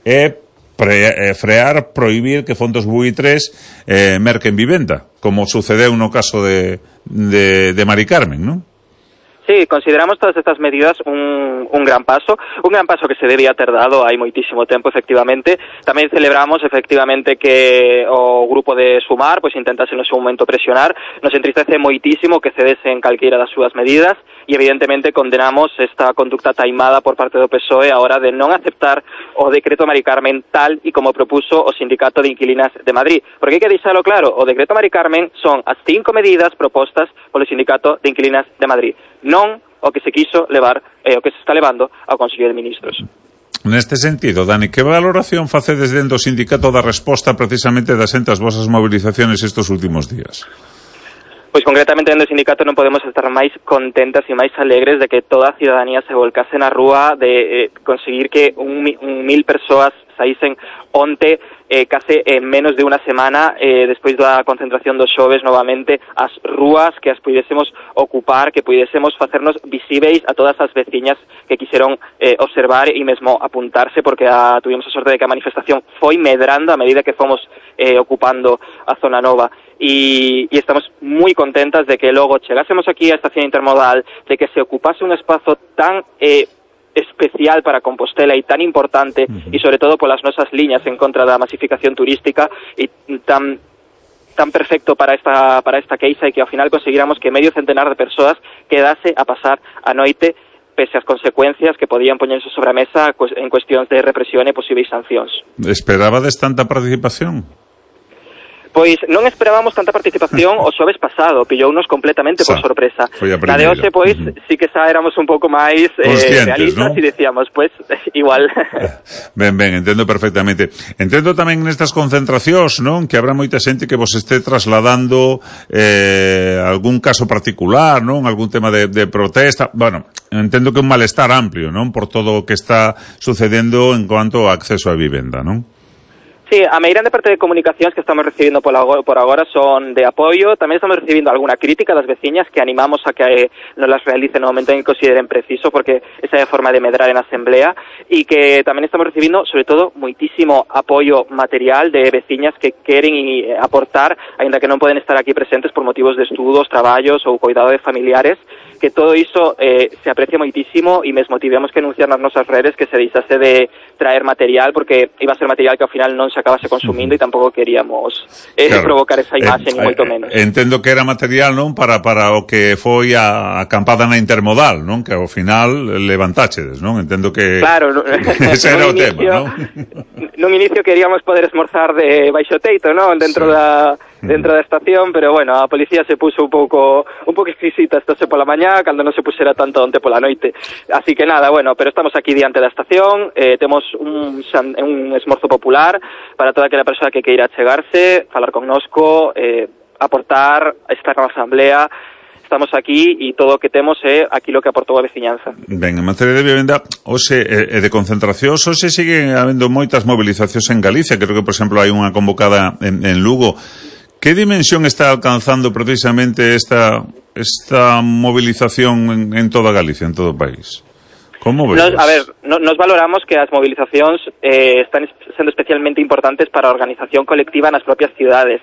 é frear, prohibir que fondos buitres merquen vivenda, como sucedeu no caso de Mari Carmen, non? Sí, consideramos todas estas medidas un gran paso que se debía ter dado hai moitísimo tempo, efectivamente. Tamén celebramos, efectivamente, que o grupo de Sumar pois intentase no seu momento presionar. Nos entristece moitísimo que cedesen calqueira das súas medidas e, evidentemente, condenamos esta conducta taimada por parte do PSOE a hora de non aceptar o decreto Mari Carmen tal e como propuso o Sindicato de Inquilinas de Madrid. Porque hai que deixalo claro, o decreto Mari Carmen son as 5 medidas propostas polo Sindicato de Inquilinas de Madrid, non o que se quiso levar, o que se está levando ao Consello de Ministros. Neste sentido, Dani, que valoración facedes dentro do sindicato da resposta precisamente das entas vosas movilizaciones estes últimos días? Pois concretamente dentro do sindicato non podemos estar máis contentas e máis alegres de que toda a ciudadanía se volcase na rúa, de conseguir que 1.000 persoas saísen onte case en menos de unha semana despois da concentración dos xoves novamente as rúas, que as puidésemos ocupar, que puidésemos facernos visíveis a todas as veciñas que quixeron observar e mesmo apuntarse, porque tuvimos a sorte de que a manifestación foi medrando a medida que fomos ocupando a zona nova. E estamos moi contentas de que logo chegásemos aquí á estación intermodal, de que se ocupase un espazo tan especial para Compostela e tan importante, e sobre todo polas nosas liñas en contra da masificación turística, e tan perfecto para esta queixa, e que ao final conseguiramos que medio centenar de persoas quedase a pasar a noite pese ás consecuencias que podían poñerse sobre a mesa en cuestións de represión e posibles sancións. Esperabades tanta participación? Pois non esperábamos tanta participación o xoves pasado, pillounos completamente por sorpresa. Na de hoxe, pois, sí que xa éramos un pouco máis realistas, ¿no? E decíamos, pois, igual. Ben, entendo perfectamente. Entendo tamén nestas concentracións, non? Que habrá moita xente que vos este trasladando algún caso particular, non? Algún tema de protesta. Bueno, entendo que un malestar amplio, non? Por todo o que está sucedendo en cuanto ao acceso a vivenda, non? Sí, a medida de parte de comunicacións que estamos recibindo por agora son de apoio. Tamén estamos recibindo alguna crítica das veciñas que animamos a que nos las realicen no momento en que consideren preciso, porque esa é a forma de medrar en asamblea, e que tamén estamos recibindo, sobre todo, moitísimo apoio material de veciñas que queren aportar, aínda que non poden estar aquí presentes por motivos de estudos, traballos ou cuidado de familiares, que todo iso se aprecia moitísimo, e mesmo tivemos que anunciar nas nosas redes que se deixase de traer material, porque iba a ser material que ao final non se acabase consumindo, e tampouco queríamos provocar esa imaxe, ni moito menos. Entendo que era material, non, para o que foi a acampada na intermodal, non, que ao final levantáchedes, non? Entendo que claro, ese era o tema, non? Nun inicio queríamos poder esmorzar de baixo teito, non, dentro da estación, pero bueno, a policía se puso un pouco exquisita estase pola mañá, cando non se pusera tanto onte pola noite. Así que nada, bueno, pero estamos aquí diante da estación, temos un esmorzo popular para toda aquela persoa que queira chegarse, falar connosco, aportar, estar na asamblea. Estamos aquí e todo o que temos é aquilo que aportou a veciñanza. Ben, en materia de vivenda hoxe e de concentración, hoxe siguen habendo moitas movilizacións en Galicia. Creo que, por exemplo, hai unha convocada en Lugo. Que dimensión está alcanzando precisamente esta movilización en toda Galicia, en todo o país? Como ves? Nos valoramos que as movilizacións están sendo especialmente importantes para a organización colectiva nas propias cidades.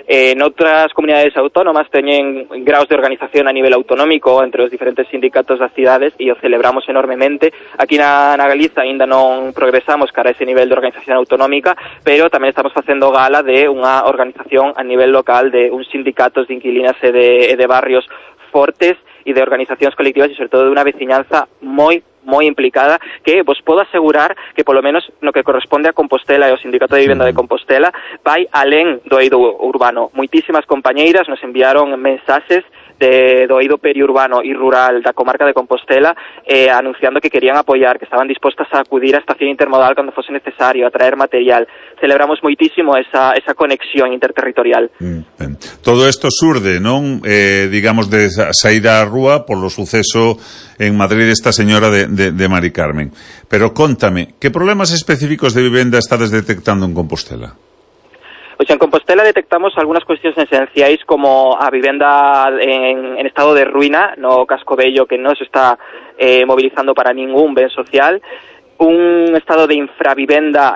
Noutras comunidades autónomas teñen graus de organización a nivel autonómico entre os diferentes sindicatos das cidades, e o celebramos enormemente. Aquí na Galiza aínda non progresamos cara a ese nivel de organización autonómica, pero tamén estamos facendo gala de unha organización a nivel local de uns sindicatos de inquilinas e de barrios fortes e de organizacións colectivas, e sobre todo de unha veciñanza moi implicada, que vos podo asegurar que polo menos no que corresponde a Compostela e ao Sindicato de Vivenda de Compostela vai alén do eido urbano. Moitísimas compañeiras nos enviaron mensaxes do eido periurbano e rural da comarca de Compostela anunciando que querían apoiar, que estaban dispostas a acudir á estación intermodal cando fose necesario, a traer material. Celebramos moitísimo esa conexión interterritorial. Todo isto surde, non? Digamos, de saída á rúa polo suceso en Madrid esta señora de Mari Carmen. Pero contame, que problemas específicos de vivenda estades detectando en Compostela? Pois en Compostela detectamos algunhas cuestións esenciais, como a vivenda en estado de ruína no casco vello, que non se está mobilizando para ningún ben social, un estado de infravivenda